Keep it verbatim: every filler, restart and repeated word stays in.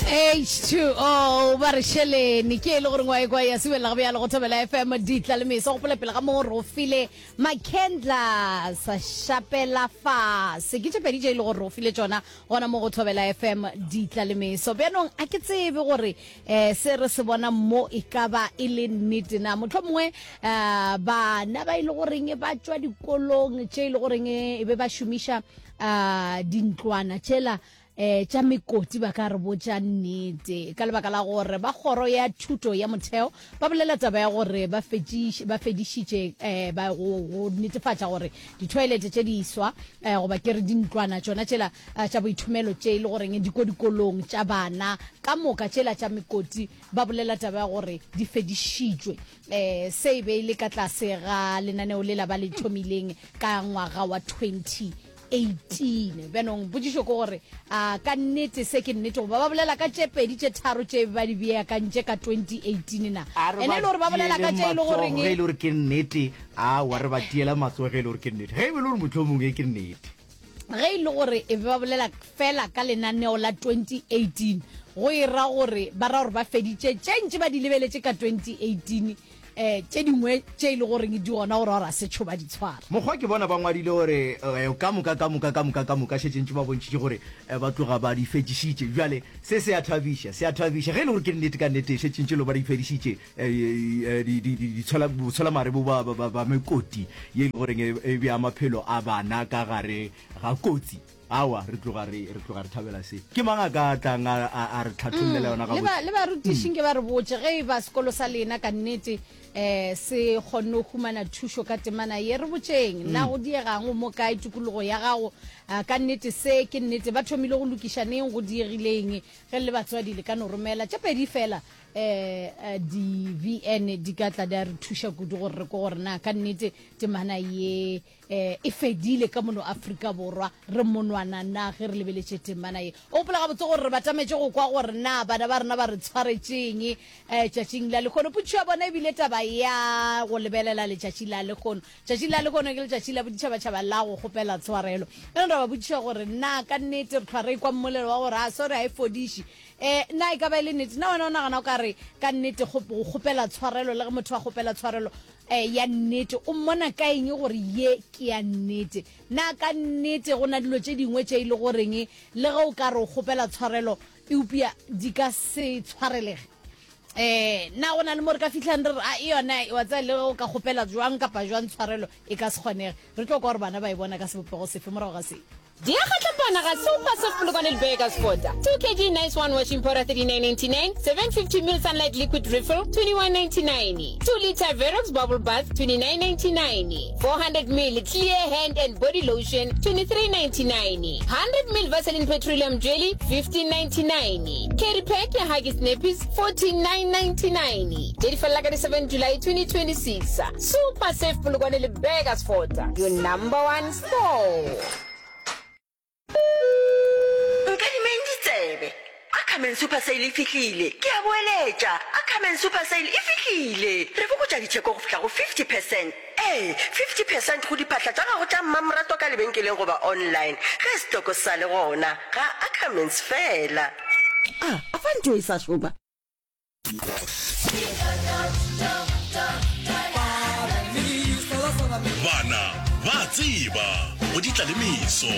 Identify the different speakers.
Speaker 1: H two O ba re šelene ke e le gore ngwa kwa ya sebelela go bjalo go Thobela F M ditla le meso. Gopola pele ga mo re o file Makendla sa šapela fase, ke tše pedi tše e le gore re o file tšona gona mo go Thobela F M ditla le meso. Bjanong a ke tsebe gore um se re se bona mo e ka ba e le nnete na. Motlho mongwe um bana ba e le goreng ba tšwa dikolong tše e le goreng e be ba šomiša um dintlwana tšela eh tša mekoti ba ka re botša nnete, ka lebaka la gore ba kgoro ya thuto ya motheo ba bolela taba ya gore ba fetšiš- ba fedišitše eh ba go go netefatša gore di-toilet tše diswa eh goba ke re dintlwana tšona tšela eh, tša boithomelo tše e le goreng di ko dikolong tša bana ka moka tšela tša mekoti, ba bolela taba ya gore di fedišitšwe. eh se e be e le ka tlase ga lenaneo lela ba le thomileng ka ngwaga wa twenty eighteen. Bjanong potšišo ke gore a ka nnete se ke nnete, goba ba bolela ka tše pedi tše tharo tše ba di beakantše ka twenty eighteen na?
Speaker 2: A re
Speaker 1: ene e le gore ba bolela ka tše e le goreng
Speaker 2: ge e le gore ke nnete, awa, re ba tiela matsogo ge e le gore ke nnete, ge e be le gore mohlomongwe ke nnete.
Speaker 1: Ge e le gore e be ba bolela fela ka lenaneo la twenty eighteen, go e ra gore ba ra gore ba feditše tše ntše ba di lebeletše ka twenty eighteen, um tše dingwe tše e le goreng di gona gore gore a setšho ba di tshwara.
Speaker 2: Mokgwa ke bona ba ngwadile gore eh, ka moka ka moka ka moka ka moka šetše ntše ba bontšhitše gore eh, ba tloga ba di fedišitše. Bjale se se a thabiša, se a thabiša ge e le gore ke nnete, ka nnete šetše ntše le ba di fedišitše eh, eh, di- di- di- ditshola- botsholamare bo ba- ba ba- ba mekoti ye e le goreng e e bea maphelo a bana ka gare ga kotsi. Awa, re tloga re re tloga re thabela se. Ke mang a ka tlang a a- a re tlhathollela yona
Speaker 1: le ba
Speaker 2: gabotse?
Speaker 1: Le barutišing ke ba re botše ge e ba sekolo sa lena ka nnete um se kgonne go humana thušo ka temana ye. Re botšeng na go diegang mo kae tikologo ya gago. Ah, ka nnete se ke nnete, ba thomile go lokiša neng, go diegileng? Ge le batswadi le ka no romela tše pedi fela um di-V N di ka tla di a re thuša kudu gore re ko gore na ka nnete temana ye eh e fedile ka mono Afrika Borwa, re monwana na ge re lebeletše temana ye. O gopola gabotse gore re batametše go kwa gore na bana ba rena ba re tshwaretšeng um tšatšing la lekgono. Potšišo ya bona ebile taba ya go lebelela letšatši la lekgono. Tšatši la lekgono ke letšatši la boditšhabatšhaba la go kgopela tshwarelo. Ene ra ba botšiša gore na ka nnete re tlhwa re kwa mmolelo wa gore a sorry ga e fodiše, um na e ka ba e le nnete na? Wena o nagana o ka re ka nnete go go kgopela tshwarelo, le ge motho a kgopela tshwarelo um ya nnete, o mmona ka eng gore ye ke ya nnete? Na ka nnete go na dilo tše dingwe tše e le goreng le ge o ka re o kgopela tshwarelo eupša di ka se tshwarelege? um na go na le mo re ka fitlhang re re a e yona wa tsaya le ge o ka kgopela jwang kapa jwang tshwarelo e ka se kgonege? Re tlo kwa gore bana ba e bona ka sebopego sefe morago ga se.
Speaker 3: Diyakgatlapana ga Super Surf Polokwane le Burgersfort. two kilograms Nice One washing powder thirty-nine ninety-nine, seven hundred fifty milliliters Sunlight liquid refill twenty-one ninety-nine, two liter Verox bubble bath twenty-nine ninety-nine, four hundred milliliters clear hand and body lotion twenty-three ninety-nine, one hundred milliliters Vaseline petroleum jelly fifteen ninety-nine, carry pack ya Huggies nappies fourteen nine ninety-nine. Tše di felela ka di seven July twenty twenty-six. Super Surf Polokwane le Burgersfort, your number one store.
Speaker 4: Nkadimeng ditsebe. Ackerman Super Sale e fihlile. Ke a boeletša, Ackerman Super Sale e fihlile. Re fokotša ditšheko go fihla go fifty percent. Ee, fifty percent go diphahla tša gago tša mmamoratwa ka lebenkeleng goba online ge setoko se sa le gona ga Ackermans fela.
Speaker 5: A a fa ntho e sa šoma.
Speaker 6: Bana ba tseba go di tla le meso.